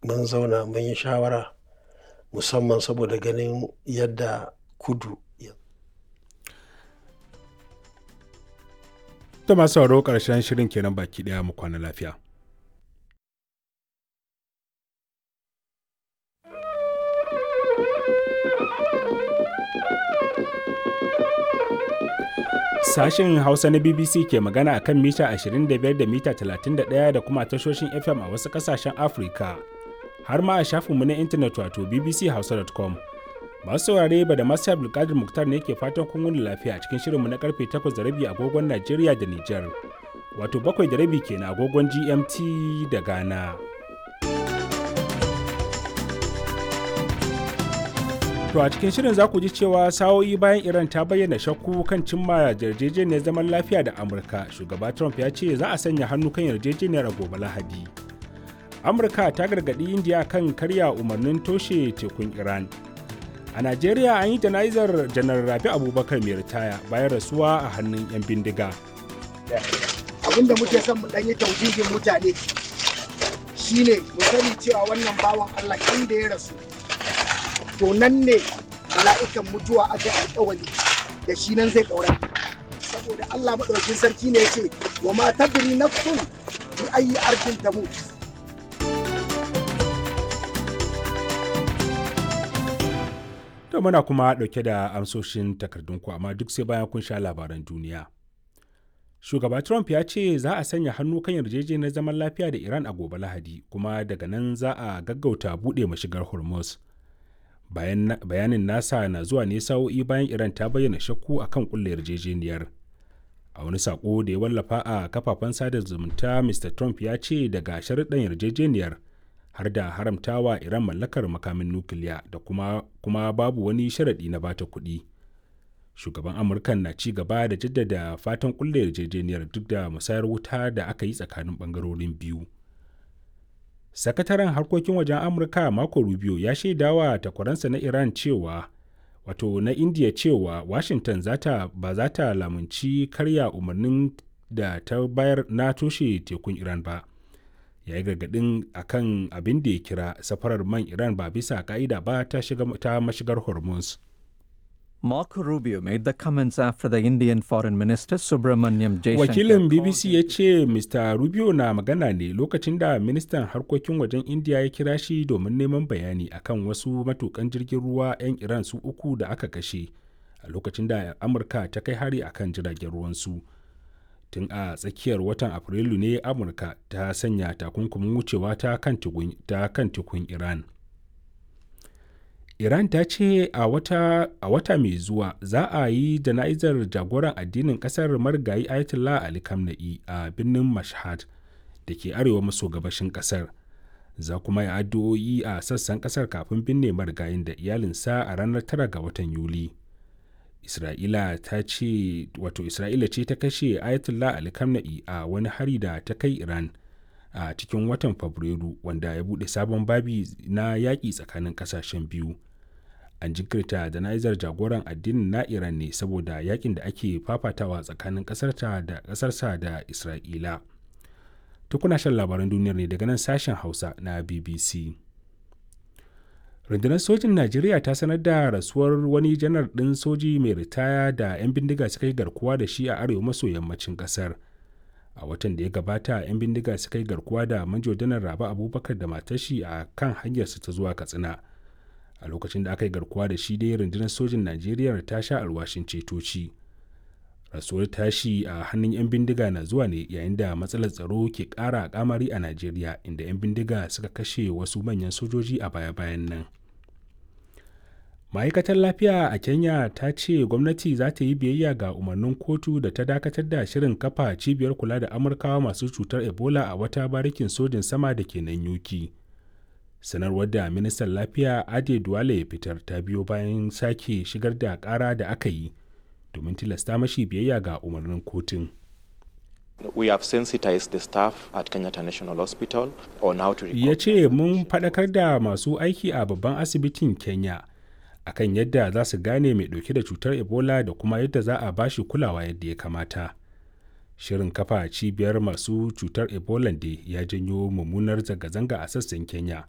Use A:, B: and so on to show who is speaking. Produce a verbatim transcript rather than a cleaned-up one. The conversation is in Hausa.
A: Mun zauna mun yi shawara musamman saboda ganin yadda kudu ya
B: To masu sauraro ƙarshen shirin kenan baki ɗaya mu kwana lafiya. Sashen Hausa na B B C ke magana akan mita ashirin da biyar da mita talatin da ɗaya da kuma tashoshin F M a wasu ƙasashen Afirka. Har ma a shafinmu na intanet wato b b c hausa dot com. Masu saurare ba da masu Abdulkadir Muktar ne ke fatan kun wuni lafiya a cikin shirinmu na karfe takwas da rabi agogon Najeriya da Nijar. Wato bakwai da rabi kenan agogon G M T da Ghana. To a cikin shirin za ku ji cewa sa'o'i bayan Iran ta bayyana shakku kan cimma yarjejeniyar zaman lafiya da Amurka, shugaba Trump ya ce za a sanya hannu kan yarjejeniyar a gobe Lahadi. Amurka ta gargaɗi Indiya kan karya umarnin toshe tekun Iran. A Najeriya an yi jana'izar Janar Rabi Abubakar mai ritaya bayan rasuwa a hannun 'yan bindiga.
C: Abin da muke son mu ɗan yi tauhidin mutane shine mu sani cewa wannan bawan Allah inda ya rasu to nan ne mala'ikan mutuwa aka yi alƙawari da shi nan zai ɗaura. Saboda Allah maɗaukin sarki ne ya ce wa ma tadri nafsun bi ayyi ardin tamut.
B: To muna kuma ɗauke da amsoshin takardunku, amma duk sai bayan kun sha labaran duniya. Shugaba Trump ya ce za a sanya hannu kan yarjejeniyar zaman lafiya da Iran a gobe Lahadi, kuma daga nan za a gaggauta buɗe mashigar Hormuz. Bayan, bayanin nasa na zuwa ne sa'o'i bayan Iran ta bayyana shakku akan kulle yarjejeniyar. A wani sako da ya wallafa a kafafen sada zumunta, Mister Trump ya ce daga sharuɗan yarjejeniyar har da haramtawa Iran mallakar makamin nukiliya da kuma, kuma babu wani sharaɗi na bata kuɗi. Shugaban Amurkan na ci gaba da jaddada fatan kulle yarjejeniyar duk da musayar wuta da aka yi tsakanin ɓangarorin biyu. Sakataren harkokin wajen Amurka Marco Rubio ya shaidawa takwaransa na Iran cewa wato na India cewa Washington zata ba za ta lamunci karya umarnin da ta bayar na toshe tekun Iran ba. Ya yi gargaɗin a kan abin da ya kira safarar man Iran ba bisa ka'ida ba ta, shiga, ta mashigar Hormuz.
D: Marco Rubio made the comments after the Indian Foreign Minister Subramanyam Jaishankar
B: Wakilin B B C ya ce Mister Rubio na magana ne lokacin da ministan harkokin wajen India ya kira shi domin neman bayani akan wasu matukan jirgin ruwa 'yan Iran su uku da aka kashe a lokacin da Amurka ta kai hari akan jiragen ruwansu. Tun a tsakiyar watan Afrilu ne Amurka ta sanya takunkumin wucewa ta kan tekun Iran. Iran ta ce a wata, a wata mai zuwa za a yi jana'izar jagoran addinin kasar marigayi Ayatollah Ali Khamenei a birnin Mashhad da ke arewa maso gabashin kasar. Za kuma yi addu'o'i a sassan kasar kafin binne marigayin da iyalinsa a ranar tara ga watan Yuli. Isra'ila ta ce wato Isra'ila ce ta kashe Ayatollah Ali Khamenei a wani hari da ta kai Iran a cikin watan Fabrairu, wanda ya bude sabon babi na yaƙi tsakanin ƙasashen biyu. An jinkirta jana'izar jagoran addinin na Iran ne saboda yakin da ake fafatawa tsakanin ƙasarta da ƙasarsa da Isra'ila. Tukuna shan labaran duniyar ne daga nan sashen Hausa na B B C. Rundunar sojin Najeriya ta sanar da rasuwar wani janar ɗin soji mai ritaya da 'yan bindiga suka yi garkuwa da shi a arewa maso yammacin ƙasar. A watan da ya gabata 'yan bindiga suka yi garkuwa da manjo janar Rabe Abubakar da matar shi a kan hanyarsu ta zuwa Katsina. A lokacin da aka yi garkuwa da shi dai, rundunar sojin Najeriya ta sha alwashin cetoci. Rasuwar tashi a hannun 'yan bindiga na zuwa ne yayin da matsalar tsaro ke ƙara kamari a Najeriya, inda 'yan bindiga suka kashe wasu manyan sojoji a baya-bayan nan. Ma'aikatar lafiya a Kenya ta ce gwamnati za ta yi biyayya ga umarnin kotu da ta dakatar da shirin kafa cibiyar kula da Amurkawa masu cutar Ebola a wata barikin sojin sama da ke nan Yuki. Sanarwar da ministan lafiya Ade Duwale ya fitar ta biyo bayan sake shigar da kara da aka yi domin tilasta mashi biyayya ga umarnin kotun.
E: We have sensitized the staff at Kenyatta National Hospital on how to
B: Ya ce mun faɗakar da masu aiki a babban asibitin Kenya akan yadda za su gane mai ɗauke da cutar Ebola da kuma yadda za a bashi kulawa yadda ya kamata. Shirin kafa cibiyar masu cutar Ebola da ya janyo mummunar zanga-zanga a sassan Kenya.